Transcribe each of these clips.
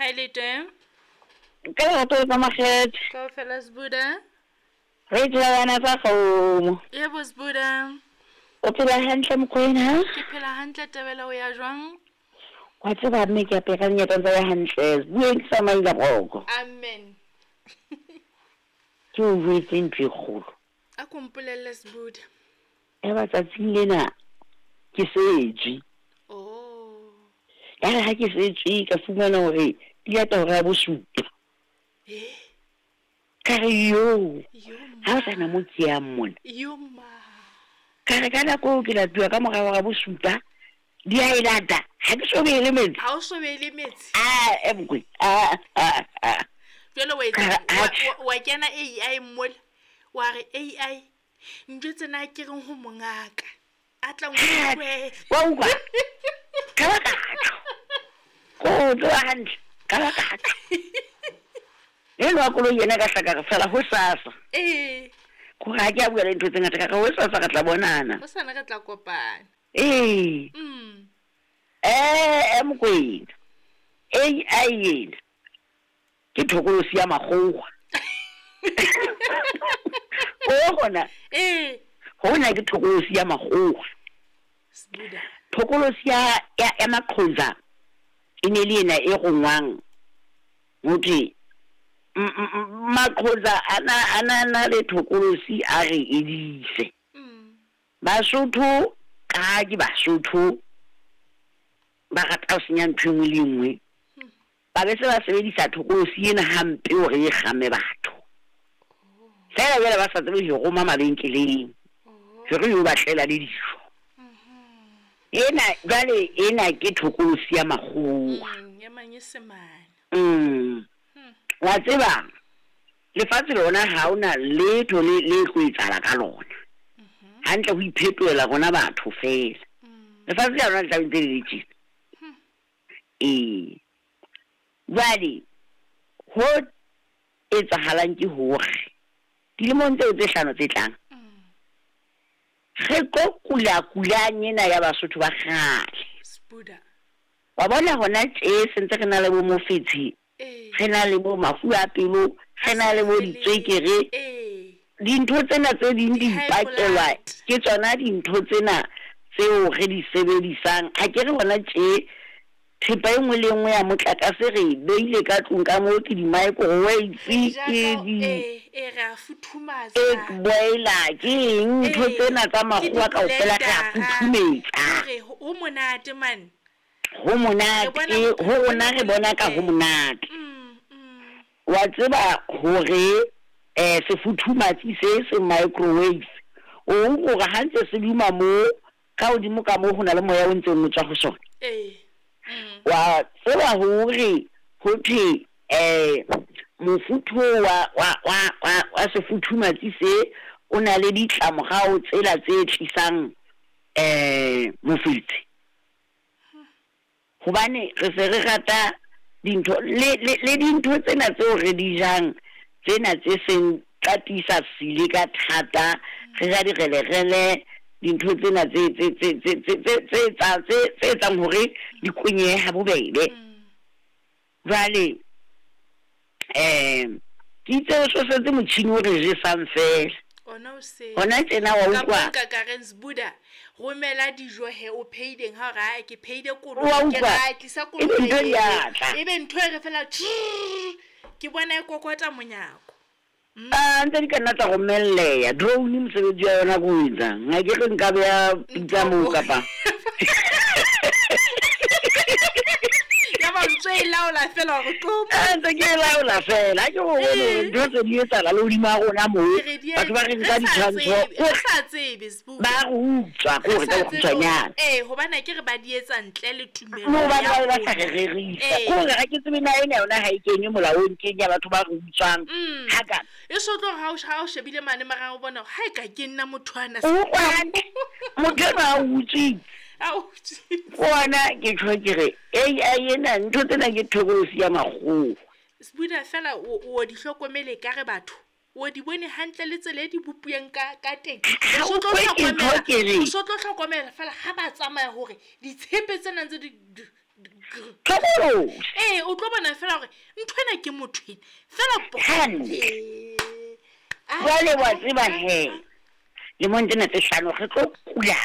Ha e le teng. Ka lerato le ka makgethe. Kaofela Sbuda. Re tseba bana tsa kgomo. Yebo Sbuda. O phela hantle Mokoena? Ke phela hantle Tebele o ya jwang? Wa tseba mme ke apere lenyatsa ntse ya hantle. Bueng ke sa maila broko. Amen. Ke o jwetse ntho e kgolo. A ko mpolelle Sbuda. Yaba tsatsing lena ke setswe. Oh. Ya re ha ke setswe ka fumana hore di lata hora ya bosupa. Eh. Ka re yo, Yo ha o sana mo ke yang mona. Yo ma. Ka re ka nako eo ke latuwa ka mora hora bosupa, di a e lata. Ha ke so beele metsi. Ha o so beele metsi. Ah, e mokwe. Ah, ah, ah. Jwale wa Ka re, etsa atjhe. wa kena AI mola. Wa re AI njwetse na ke reng ho mongaka. A tla nkutlwe. Wa utlwa? Ka ba ka tjho. Ko o tseba hantle. Ka ba ka tjho. Eno wa koloi yena ka hlaka re fela hosasa. Ee. Kore ha ke a bua le ntho tse ngata ka re hosasa re tla bonana. Hosane re tla kopana. Ee. Eh, Mokwena. AI ena ke thokolosi ya makgowa. O gona. Ee. Hona ke thokolosi ya makgowa. Sbuda. Thokolosi ya ya, ya maqhonza e ne le ena e rongwang ho thwe maqhonza a na na le thokolosi a re edise. Basotho ka ke Basotho ba rata ho senya ntho e nngwe le e nngwe. Ba be se ba sebedisa thokolosi ena hampe hore e kgame batho. Feela jwale ba sa tsebe ho roma mabenkeleng hore yo batlela le dijo. Ena jwale ena ke thokolosi ya makgowa. Ya manyesemane. Wa tseba lefatshe lona ha hona letho le le tlo etsahala ka lona. Hantle ho iphetohela rona batho feela. Lefatshe la rona le tla be ntse le le tjena. Ee. Jwale ho etsahalang ke hore dilemong tseo tse hlano tse tlang re tlo kula kulang ena ya Basotho ba kgale. Sbuda. Wa bona hona tje sentse re na le bo mofetshe, re na le bo mafu a pelo, re na le bo ditswekere. Dintho tsena tse ding di ipakelwa ke tsona dintho tsena tseo re di sebedisang. Ha ke re hona tje thepa e nngwe le nngwe ya motlakase re e beile ka tlung ka moo, ke di-microwave, ke di egg boiler, ke eng ntho tsena tsa makgowa kaofela re a futhumetsa. Ho monate man. Ho monate, ho rona re bona ka ho monate. Wa tseba hore sefuthumatsi se se microwave o utlwa hore ha ntse se duma mo ka hodimo ka moo ho na le moya o ntseng o tswa ho sona. Wa tseba hore ho thwe mofuthu wa wa wa wa wa sefuthumatsi se o na le ditlamorao tsela tse tlisang mofetshe. Hobane re se re rata dintho le le le dintho tsena tseo re di jang tsena tse seng tsa tiisa sile ka thata, re ja direlerele dintho tsena tse tse tse tse tse tse tse tsa tse tse etsang hore di kwenyehe ha bobebe. Jwale ke itse o sosetse motjhini o re jesang feela. Ona o se. Hona tjena wa Ka utlwa. nka ka reng Sbuda, romela dijo he o pheileng ha o re ae ke pheile Wa kolobe ke utlwa. re ae tlisa Ebe kolobe ntho di eo. a tla. Ebe ntho e re fela tjrrr, ke bona e kokota monyako. Ah, ntse di ka nna tsa romelleha. Drone mosebetsi wa yona ke o etsang. Ha ke re nka beha pitsa moo kapa. Ya ba ntse e laola fela hore tlo mo. Ah, ntse ke e laola fela. Ha ke go bone hore ntho tse di etsahala le hodima rona moo. Re di Batho ba re re nka sa ditshwantsho. tsebe, re sa tsebe Sbuda. Ba re utswa ke hore Re ka sa tsebe hore bokgutshwanyane. ee, hobane akere ba di etsa ntle le tumelo Mo hobane ya ba be ba sa rona. re rerisa. Ee. Ke hore ha ke tsebe na ena yona ha e kenywe molaong ke eng ya batho ba re utswang. Hakana. E so tlo re ha o shebile mane mara o bona hore ha e ka ke nna motho ana O utlwa hantle. Motho enwa a utswitse. A utswitse. Bona ke tjho ke re AI ena ntho tsena ke thokolosi ya makgowa. Sbuda fela o o di hlokomele ka re batho. O di bone hantle le tsela e di bopilweng ka ka teng. Ha O so o tlo kwe ke ntho hlokomela, ke re. o so tlo hlokomela fela ha ba tsamaya hore ditshepe tsena ntse di Thokolosi. Ee, o tlo bona fela gore ntho ena ke motho ena fela po. Hantle. Ee. Ah, Jwale wa ah, tseba ah, he, ah. lemong tsena tse hlano re tlo kula.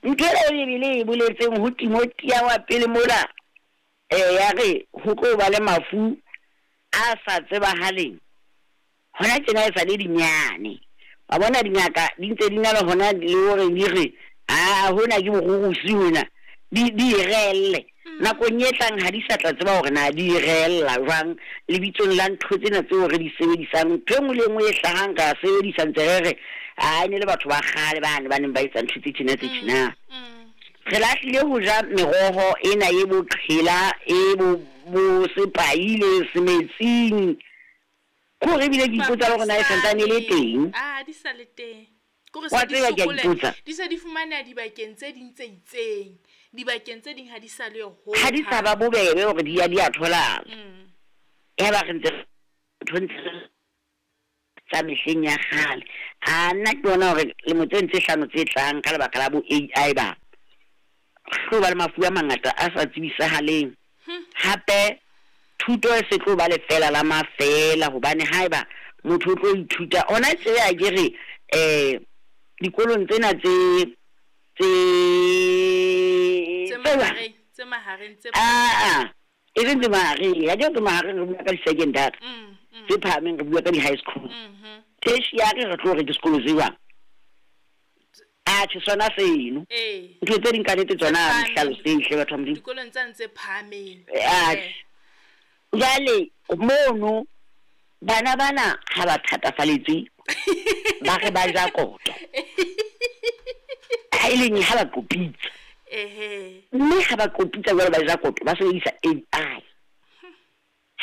Ntho ena e Bibele e boletseng ho Timothea wa pele mola, eh, ya re ho tlo ba le mafu a sa tsebahaleng. Hona tjena e sa le dinyane. Wa bona dingaka di ntse di na le hona le hore di re, aa hona ke borurusi hona, di di e reelle. Nakong e tlang ha di sa tla tseba hore na di e reella jwang lebitsong la ntho tsena tseo re di sebedisang. Ntho e nngwe le e nngwe e hlahang re a sebedisa ntse re re, aa e ne le batho ba kgale bane ba neng ba etsa ntho tse tjena tse tjena. Re lahlile ho ja meroho ena e boqhela, e bo bo sepai le semetsing. Ke hore ebile ke ipotsa le hore na e santsane e le teng. Ah, di sa le teng. Ke hore Wa se di tseba ke a sokole, ipotsa. di se di fumaneha dibakeng tse ding tse itseng. Dibakeng tse ding ha di sa le yo ho Ha di sa hang. ba bobebe hore di ya di a tholahala. Yaba re ntse ntho ntse tsa mehleng ya kgale. A nna ke bona hore lemo tseno tse hlano tse tlang ka lebaka la bo AI ba tlo ba le mafu a mangata a sa tsebisahaleng. Hape thuto e se tlo ba lefela la mafela hobane haeba motho o tlo ithuta ona tje akere eh dikolong tsena tse tse Tse tse jwang? mahareng, tse mahareng tse Aa, e seng tse mahareng, akere tse mahareng re bua ka di-secondary, tse phahameng re bua ka di-high school. Tertiary re tlo re ke sekolo se jwang? Atjhe sona seno. Ee. Ntho tse ding ka nnete Tse tsona ha di phahameng. hlalosehe hle batho ba Modimo. Dikolong tsane tse phahameng. Atjhe. Jwale mono bana bana ha ba thatafalletswe ba re ba ja koto. Ha e leng ha ba qopitsa. Ehe. Mme ha ba qopitsa jwale ba ja koto ba sebedisa AI.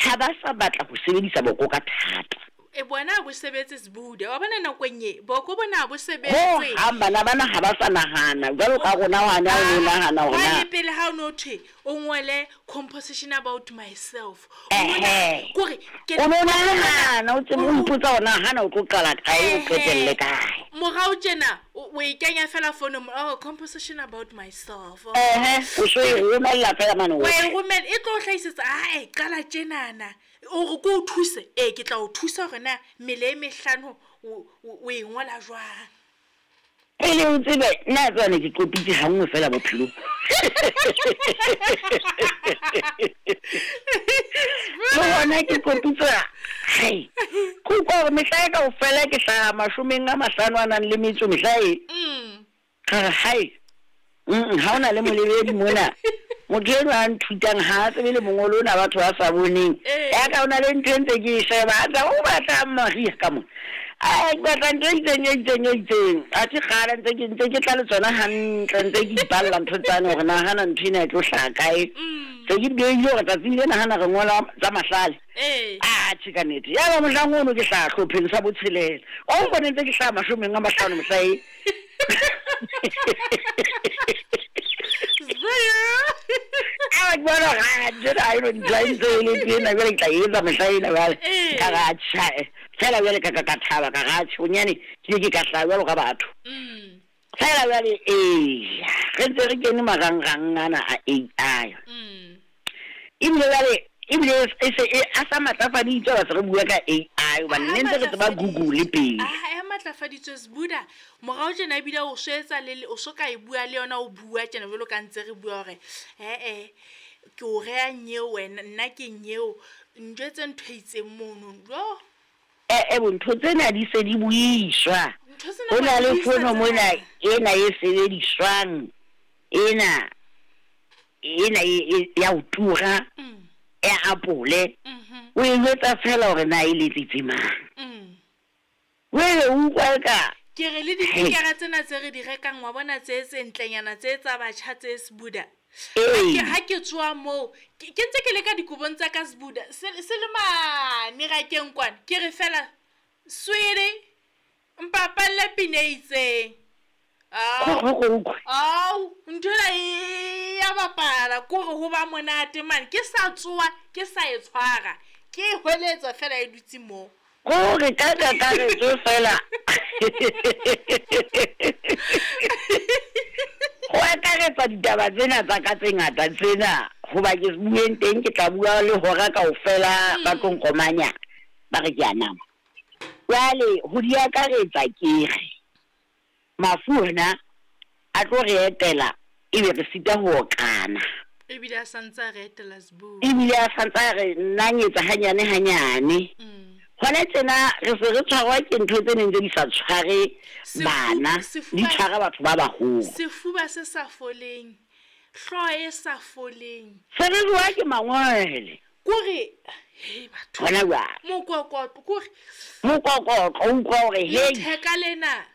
Ha ba sa batla ho sebedisa boko ka thata. E bona ha bo sebetse Sbuda. Wa bona nakong e, boko bona ha bo Ho sebetse. hang bana bana ha ba sa nahana jwalo ka rona hwane ha o no nahana hore Hwane na pele ha o no thwe o ngole composition about myself. Ehe. Kore ke O no nahana o tsebe o ipotsa hore na hana o tlo qala kae o qetelle kae. Morao tjena o e kenya fela founung, oh, composition about myself. Oh. Ehe, o so e romella fela mane Wa e hohle. romela, e tlo o hlahisetsa, ae, qala tjenana. O re ke o thuse? Ee, ke tla o thusa hore na mmele e mehlano o e ngola jwang. Pele o tsebe, nna a tseba ne ke qopitse ha nngwe fela bophelong. Le hona ke qopitsa, hai, ke utlwa hore mehla e kaofela ke hlaha mashomeng a mahlano a nang le metso mehla e. Ka re hai, ha hona le molebedi mona. Motho enwa a nthutang ha a tsebe le mongolo ona batho ba sa boneng. Ee. Ya ka hona le ntho e ntse ke e sheba, a tla o batlang Maria ka mona. Ai, ke batla ntho e itseng, e itseng, e itseng. Athe kgale ntse ke ntse ke tla le tsona hantle, ntse ke ipalla ntho tsane hore nahana ntho ena e tlo hlaha kae. Se ke di behile hore tsatsing lena hana re ngola tsa mahlale. Ee. Atjhe ka nnete. Yaba mohlang ono ke hlaha hlopheng sa botshelela. Wa mpone ntse ke hlaha mashomeng a mahlano mohla e. A ke bona hore ah, ntho ena ha e no ntho e ntse e le tena, jwale ke tla e etsa mehla ena jwale. Ee. Ka re atjhe, feela jwale ka ka ka thaba, ka re atjhe, bonyane ke ke ka hlaha jwalo ka batho. Feela jwale, eya, re ntse re kene marangrang ana a AI. Ebile jwale, ebile e se e a sa matlafaditswe ha se re bua ka AI hobane ne ntse re tseba Google pele. Ah, a matlafaditswe Sbuda. Morao tjena ebile o so etsa le o so ka e bua le yona o bua tjena jwalo ka ntse re bua hore eh ke o reha nyeo wena, nna ke nyeo. Njwetse ntho e itseng mono. Jo. Eh, bo ntho tsena di se di buiswa. Ntho tsena Ho na ba le di buisa fono mona tsena. ena e sebediswang ena ena e ya ho tura ya Apple. O e jwetsa fela hore na e letsitse mang. O e utlwa eka Ke re le dipikara tsena tse re di rekang wa bona tse tse ntlenyana tse tsa batjha tse Sbuda. Ee. Ha ke tswa moo, ke ntse ke le ka dikobong tsa ka Sbuda, se le mane rakeng kwana. Ke re fela, sweetie, mpapalle pina e itseng. Ao. Go, go, go. Ao, ntho ena e ya bapala, ke hore ho ba monate mane. Ke sa tsoha, ke sa e tshwara. Ke e hweletsa fela e dutse moo. Kore ka kakaretso fela. Ho akaretsa ditaba tsena tsa ka tse ngata tsena. Hoba ke bueng teng ke tla bua le hora kaofela ba tlo nkomanya ba re ke a nama. Jwale ho di akaretsa ke re mafu ona a tlo re etela ebe re sita ho okana. Ebile a santse a re etela Sbu. Ebile a santse a re nanyetsa hanyane hanyane. Hona tjena re se re tshwarwa ke ntho tse neng tse di sa tshware bana, di tshwara batho ba baholo. Sefuba se sa foleng, hlooho e sa foleng. Se re jowa ke mangwele. Kore hei batho. Hona jwale. Mokokotlo kore. Mokokotlo o utlwa hore hei. Letheka lena.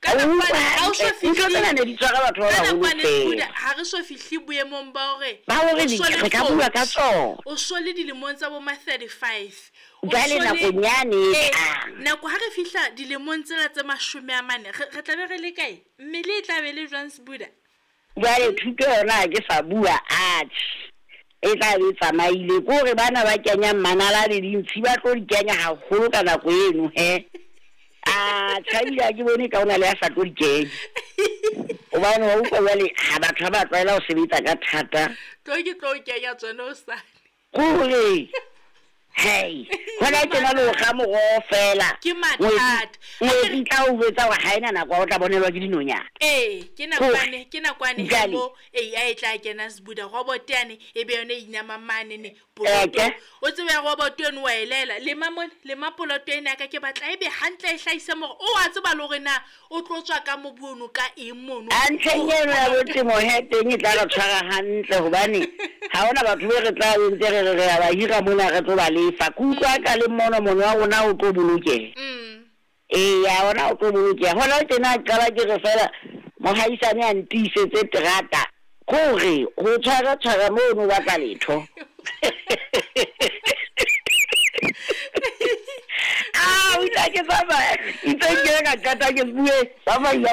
Ka nakwane ha o so fihle. Ntho tsena ne di tshwara batho ba baholo feela. Ha re so fihle boemong ba hore. Ba hore re ka bua ka tsona. O so le dilemong tsa bo ma 35. Jwale nakong yane e tlang. Nako ha re fihla dilemong tsela tse 40, re tla be re le kae? Mmele e tla be le jwang Sbuda? Jwale thuto yona ha ke sa bua atjhe e tla be e tsamaile. Ke hore bana ba kenyang manala le dintshi ba tlo di kenya haholo ka nako eno he. Atjhe ebile ha ke bone ka hona le ya sa tlo di kenya. Hobane wa utlwa jwale ha batho ha ba tlwaela ho sebetsa ka thata. Tlo ke tlo kenya tsona hosane. Kore hei hona tjena le ho kga moroho feela. Ke mathata. Ngwetsi tla o jwetsa hore ha ena nako ya ho tla bonelwa ke dinonyana. Ee, ke nakwane, ke nakwane he mo AI e tla kena Sbuda robot yane e be yone e inamang mane ne poloto. O tsebe robot eno wa e laela lema mona, lema poloto ena ya ka ke batla ebe hantle e hlahise moro. O a tseba le hore na o tlo tswa ka mobu ono ka eng mono. A ntlheng eno ya bo temo he teng e tla re tshwara hantle hobane ha hona batho be re tla be ntse re re re a ba hira mona re tlo ba lefa. Ke utlwa ka le mono mono wa rona o tlo bolokeha. Eya ona o tlo bolokeha. Hona tjena qala ke re fela mohaisane a ntiisetse terata kore ho tshwara tshwara mono o batla letho. Ah, o itse ke tsamaya, itse ke ka qeta ke bue, tsamaya.